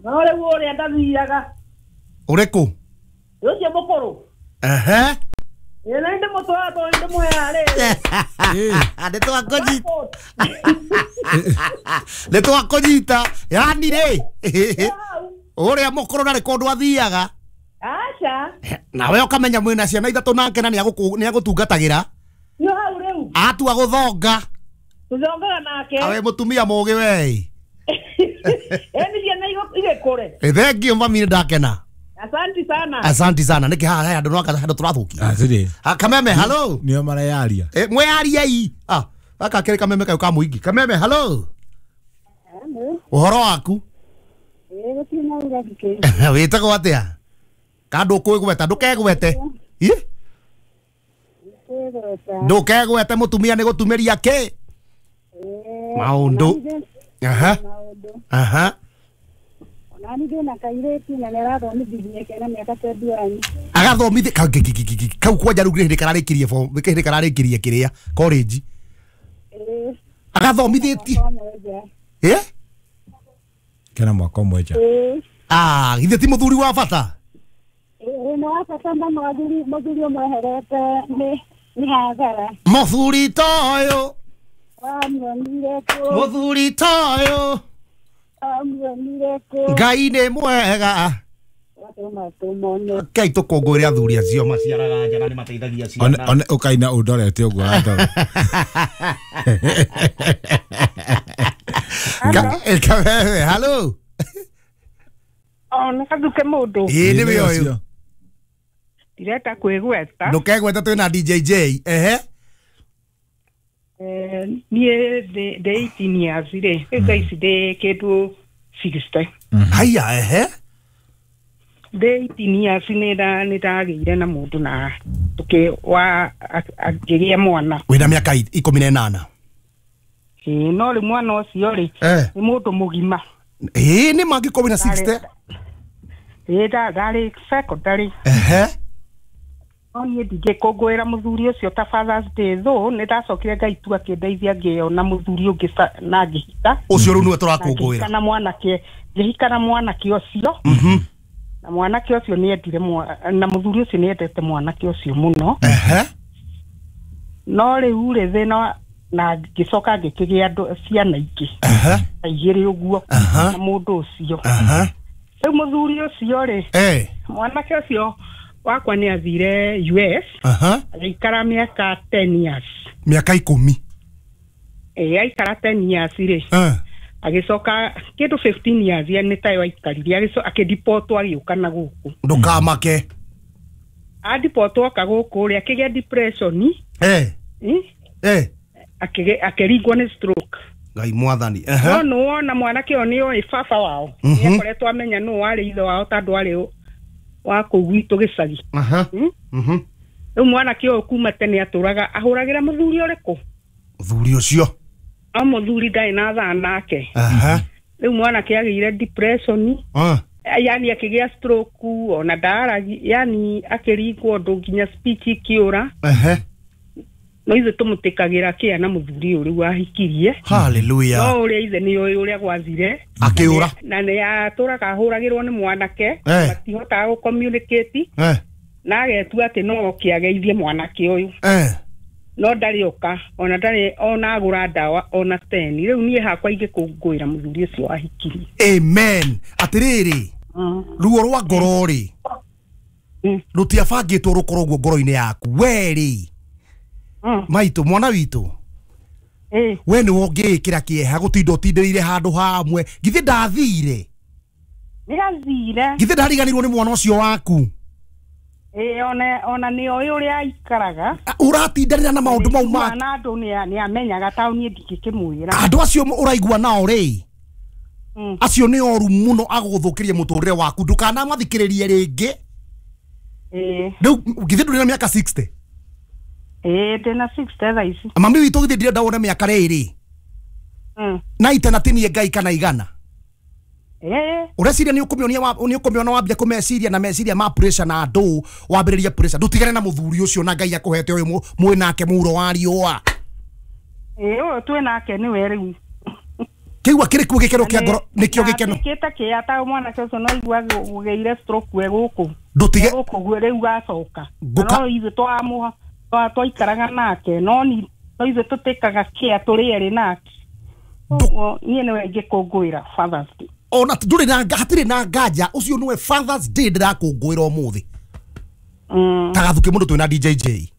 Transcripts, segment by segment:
No rĩu ũrĩa ndathiaga. Ũrĩkũ? Ũcio mũkũrũ. Ehe. Ĩĩ na ndĩmũtwara tondũ ndĩmũheaga rĩrĩ. Nĩ twakũnyita. Yani rĩ ũrĩa mũkũrũ ndarĩ kũndũ athiaga. Aca. Nawe ũkamenya mwĩna ciana ithatũ nake na nĩagũtungatagĩra. Nĩ hau rĩu. Atua gũthonga. Tũthongaga nake. Awe mũtumia mũgĩ we. Eni ciana igĩkũre. Thank you mami, ndakena. Asante sana. Asante sana. Nĩkĩ haha he andũ no handũ tũrathũkia. Atĩrĩ. Kameme, hello. Nĩo mareyaria. Mweariei. Ah, gaka kĩrĩ kameme kau ka mũingĩ. Kameme, hello. Ũhoro waku? Wĩtagwo atĩa? Ka ndũkwĩgweta, ndũkegwete. Ĩ? Ndũkegwete mũtumia nĩ gũtumĩria kĩ? Maũndũ. Aha. Aha. Agathomithia kau kwanja rĩu hĩndĩ kararĩkirie form hĩndĩ kararĩkirie kĩrĩa college. Agathomithĩtie. Ĩ? Kena mwaka ũmwe nja. Ah, githĩ ti mũthuri wa bata? Nĩ wa bata mũno mũthuri ũmweherete nĩ hathara. Mũthuri toyũ. Wamuonire kũ? Mũthuri toyũ. Wamuonire kũ? Ngai nĩ mwega. Kai tũkũngũĩre athuri acio maciaraga nja na nĩ mateithagia ciana. One ũkaina ũndorete ũguo wandora. Kameme, hello. Oh, nĩ gathuke mũndũ. Ĩĩ nĩwe ũyũ. Ndirenda kwĩgweta. Ndũkegweta twĩna DJ J. Ehe. Niĩ ndĩ 18 years rĩ, rĩu thaa ici ndĩ kĩndũ 60. Haiya, ehe. Ndĩ 18 years nĩ ndagĩire na mũndũ na akĩgĩa mwana. Wĩna mĩaka 18. Ĩĩ, no rĩu mwana ũcio rĩ nĩ mũndũ mũgima. Ĩĩ nĩ mangĩkorwo wĩna 60. Ĩĩ ndarĩ secondary. Ehe. No niĩ ndingĩkũngũĩra mũthuri ũcio ta Father's Day though nĩ ndacokire Ngai tu akĩndeithia ngĩona mũthuri ũngĩ na ngĩhika. Ũcio rĩu nĩwe tũrakũngũĩra. Na mwanake ngĩhika na mwanake ũcio. Na mwanake ũcio nĩ endire na mũthuri ũcio nĩ endete mwanake ũcio mũno. Ehe. No rĩu rĩ thĩna na ngĩcoka ngĩkĩgĩa andũ ciana ingĩ. Ehe. Igĩrĩ ũguo na mũndũ ũcio. Ehe. Rĩu mũthuri ũcio rĩ mwanake ũcio wakwa nĩ athire US. Agĩikara mĩaka 10 years. Mĩaka 10. Ĩĩ aikara 10 years rĩ. Agĩcoka kĩndũ 15 years nĩ tayo aikarire akĩdipotwo agĩũka na gũkũ. Ndũkamake. Adipotwo oka gũkũ rĩ akĩgĩa depression. Akĩringwo nĩ stroke. Ngai mwathani. No nĩ wona mwanake ũyũ nĩ oĩ baba wao. Nĩ akoretwo amenya nũ warĩ ithe wao tondũ arĩ wa kũu gwitũ gĩcagi. Rĩu mwanake ũyũ kuma tene atũraga ahũragĩra mũthuri ũrĩkũ? Mũthuri ũcio. No mũthuri ndarĩ na thaa nake. Rĩu mwanake agĩire depression. Yani akĩgĩa stroke ona ndaaragi, yani akĩringwo ũndũ nginya speech ikĩũra. No ithuĩ tũmũtĩkagĩra kĩa na mũthuri ũyũ rĩu ahikirie. Hallelujah. No ũrĩa ithe nĩ oĩ ũrĩa gwathire. Akĩũra. Na nĩ atũraga ahũragĩrwo nĩ mwanake. Matihotaga gũ communicate. Na agetua atĩ no oke ageithie mwanake ũyũ. No ndarĩ oka ona ndarĩ ona agũra ndawa ona 10. Rĩu niĩ hakwa ingĩkũngũĩra mũthuri ũcio ahikirie. Amen. Atĩrĩrĩ, ruo rwa ngoro rĩ rũtiabangĩtwo rũkorwo ũguo ngoro-inĩ yaku. We rĩ maitũ mwana witũ we nĩwe ũngĩĩkĩra kĩeha gũtinda ũtindĩrĩire handũ hamwe. Githĩ ndathire? Nĩ athire. Githĩ ndariganĩirwo nĩ mwana ũcio waku? Ĩĩ ona nĩ oĩ ũrĩa aikaraga. Ũratindanĩra na maũndũ mau ma na andũ nĩ amenyaga ta niĩ ndingĩkĩmwĩra. Andũ acio ũraigua nao rĩ acio nĩ oru mũno agũgũthũkĩria mũtũrĩre waku. Ndũkanamathikĩrĩrie rĩngĩ. Rĩu githĩ ndũrĩ na mĩaka 60? Ĩĩ ndĩna 60 thaa ici. Mami witũ githĩ ndirenda wone mĩaka rĩrĩ na itana tinie Ngai kana igana. Ũreciria nĩ ũkũmĩona wambia kũmeciria na meciria ma pressure na andũ wambĩrĩria pressure. Ndũtigane na mũthuri ũcio na Ngai akũhete ũyũ mwĩ nake mũro wa riũa. Ĩĩ ũyũ twĩ nake nĩwe rĩu. Kĩu akĩrĩ kuo gĩkeno kĩa ngoro nĩkĩo gĩkeno. Kĩta kĩa ta mwanake ũcio no igua gũgĩire stroke we gũkũ. Ndũtige gũkũ rĩu gacoka. No ithuĩ twamũha twaikaraga nake no ni no ithuĩ tũtĩkaga kĩa tũrĩ erĩ nake. Ũguo niĩ nĩwe ingĩkũngũĩra Father's Day. Ona ndũrĩ na hatirĩ na nganja ũcio nĩwe Father's Day ndĩrakũngũĩra ũmũthĩ. Ta gathuke mũndũ twĩna DJJ.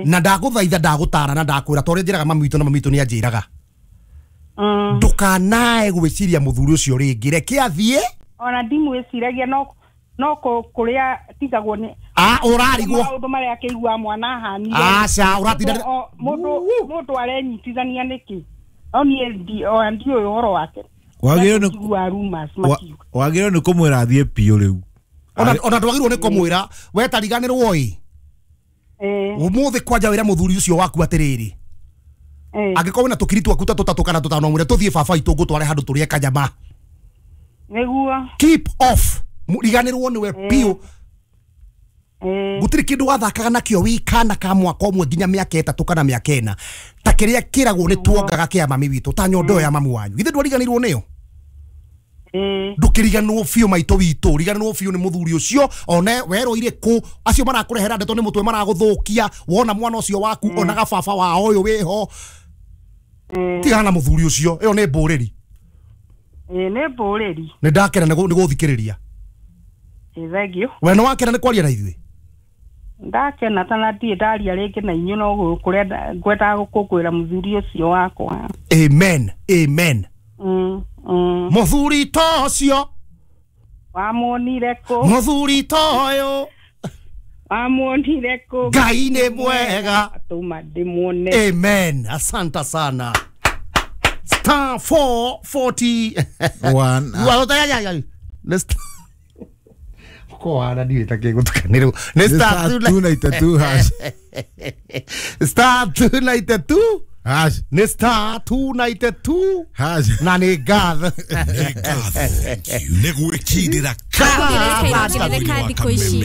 Na ndagũthaitha ndagũtara na ndakwĩra ta ũrĩa njĩraga mami witũ na mami witũ nĩ anjĩraga. Ndũkanae gwĩciria mũthuri ũcio rĩngĩ reke athiĩ. Ona ndimwĩciragia no kũrĩa tigagwo nĩ ũrarigwo maũndũ marĩa akĩigua mwana ahanire. Aca ũratinda mũndũ arenyitithania nĩkĩ? No niĩ ndiũĩ ũhoro wake. Wagĩrĩirwo nĩ kũmwĩra athiĩ biũ rĩu. Ona ndwagĩrĩirwo nĩ kũmwĩra we tariganĩrwo ĩ. Ũmũthĩ kwanja wĩra mũthuri ũcio waku atĩrĩrĩ. Angĩkorwo wĩna tũkiri twaku ta tũtatũ kana tũtano mwĩre tũthiĩ baba itũ ngũtware handũ tũrĩe kanyama. Nĩguo. Keep off. Riganĩrwo nĩwe biũ. Gũtirĩ kĩndũ wathakaga nakĩo wĩ kana ka mwaka ũmwe nginya mĩaka 3 kana mĩaka 4 ta kĩrĩa kĩragwo nĩ tuongaga kĩa mami witũ ta nyondo ya mamu wanyu. Githĩ ndwariganĩirwo nĩyo? Ndũkĩriganĩrwo biũ maitũ witũ, riganĩrwo biũ nĩ mũthuri ũcio one werũire kũ acio marakũrehera ndeto nĩ mũtwe maragũthũkia wona mwana ũcio waku onaga baba wao ũyũ wĩho. Tigana na mũthuri ũcio, ĩyo nĩ mbũrĩri. Nĩ mbũrĩri. Nĩ ndakena nĩ gũthikĩrĩria. Thank you. We nĩ wakena nĩ kwaria na ithuĩ? Ndakena ta na ndirĩ ndaria rĩngĩ na inyuĩ no kũrĩa ngwendaga gũkũngũĩra mũthuri ũcio wakwa. Amen. Amen. Mũthuri ta ũcio wamuonire kũ? Mũthuri ta ũyũ wamuonire kũ? Ngai nĩ mwega atũma ndĩmuone. Amen. Asante sana. Star 441. Let's ko ana ndiũĩ ta kĩgũtukanĩrwo nĩ star 292 hash. Star 292 hash. Nĩ star 292 hash. Na nĩ ngatho. Nĩ gwĩkindĩra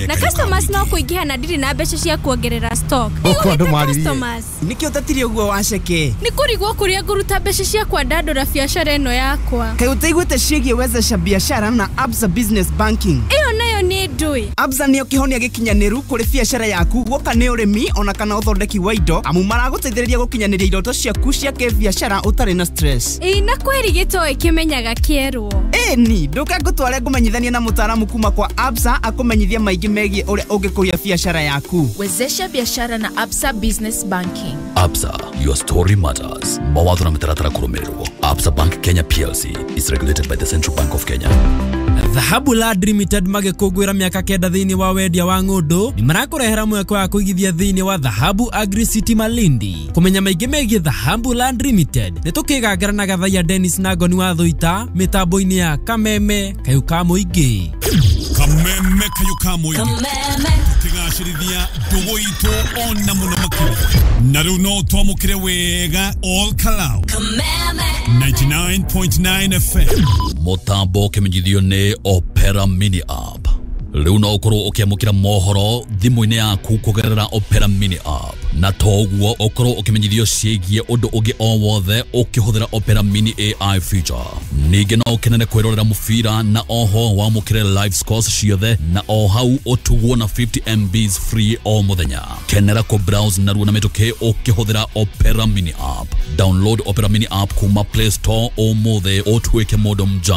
na customers no kũingĩha na ndirĩ na mbeca cia kuongerera stock. Nĩkĩo ũtatire ũguo waceke? Nĩ kũrigwo kũrĩa ngũruta mbeca cia kwandandũra biacara ĩno yakwa. Kaĩ ũtaiguĩte ciĩgiĩ wezesha biashara na Absa Business Banking? Ĩyo nayo nĩ ndũĩ. Absa nĩyo kĩhonia gĩkinyanĩru kũrĩ biacara yaku guoka nĩ ũrĩmi ona kana ũthondeki wa indo amu maragũteithĩrĩria gũkinyanĩria iroto ciaku cia kĩbiacara ũtarĩ na stress. Ĩĩ na kweri gĩtoĩ kĩmenyaga kĩerwo. Ĩni ndũke ngũtware ngũmenyithanie na mũtaaramu kuma kwa Absa akũmenyithie maingĩ megiĩ ũrĩa ũngĩkũria biacara yaku. Wezesha biashara na Absa Business Banking. Absa, your story matters. Mawatho na mĩtaratara kũrũmĩrĩrwo. Absa Bank Kenya PLC is regulated by the Central Bank of Kenya. Dhahabu Land Limited magĩkũngũĩra mĩaka 9 thĩinĩ wa wendia wa ng'ũndũ nĩ marakũrehera mweke wa kũigithia thĩinĩ wa Dhahabu Agri City Malindi. Kũmenya maingĩ megiĩ Dhahabu Land Limited nĩ tũkĩgangara na Gathaiya Dennis na Ngoni wa Thũita mĩtambo-inĩ ya Kameme Kayũ ka Mũingĩ. Kameme Kayũ ka Mũingĩ tũkĩgacĩrithia ndũgũ itũ ona mũno makĩria na rĩu no twamũkĩre wega all Kalau Kameme 99.9 FM. Mũtambo ũkĩmenyithio nĩ Opera Mini App. Rĩu no ũkorwo ũkĩamũkĩra mohoro thimũ-inĩ yaku kũgerera Opera Mini App na toguo ũkorwo ũkĩmenyithio ciĩgiĩ ũndũ ũngĩ o wothe ũkĩhũthĩra Opera Mini AI feature. Ningĩ no ũkenere kwĩrorera mũbira na oho wamũkĩre live scores ciothe na o hau ũtugwo na 50 MBs free o mũthenya. Kenera kũ browse narua na mĩtũkĩ ũkĩhũthĩra Opera Mini App. Download Opera Mini App kuma Play Store ũmũthĩ ũtuĩke mũndũ mjanja.